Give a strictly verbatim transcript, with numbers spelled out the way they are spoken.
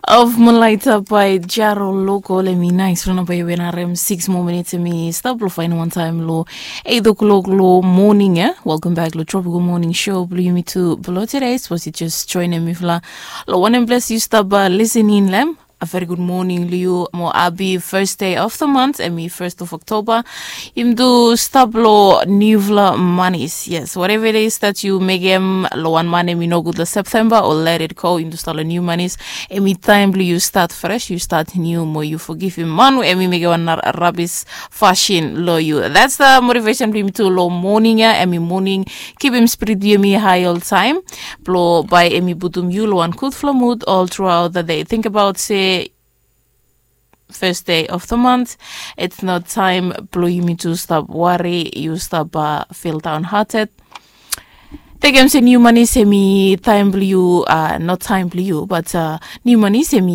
Of Malaita by Jaro Local, em i nais rona by Wenarem, six more minutes em i stap lo fain one time lo eight o'clock lo morning, eh? Welcome back lo Tropical Morning Show, blo yumi tu blo today, suppose you just join em ifla lo one em place you stop uh, listening lem. A very good morning lo you mo abi first day of the month, em i first of October. Yumi tu stap lo niufala manis. Yes, whatever it is that you mekem lo one man em i no good lo September or let it go, yumi tu stap lo new manis. Em i time blo you start fresh, you start new mo you forgive him man em i mekem one rabis fashion lo you. That's the motivation blo yumi tu lo morning ya, em i morning. Keep him spirit blo yumi high all time. Blo by em i putum you lo one good flow mood all throughout the day. Think about say first day of the month. It's not time blo yumi tu stop worry, you stop uh, feel downhearted. Tekem se new money se mi time blo you, uh, not time blo you, but uh, new money se mi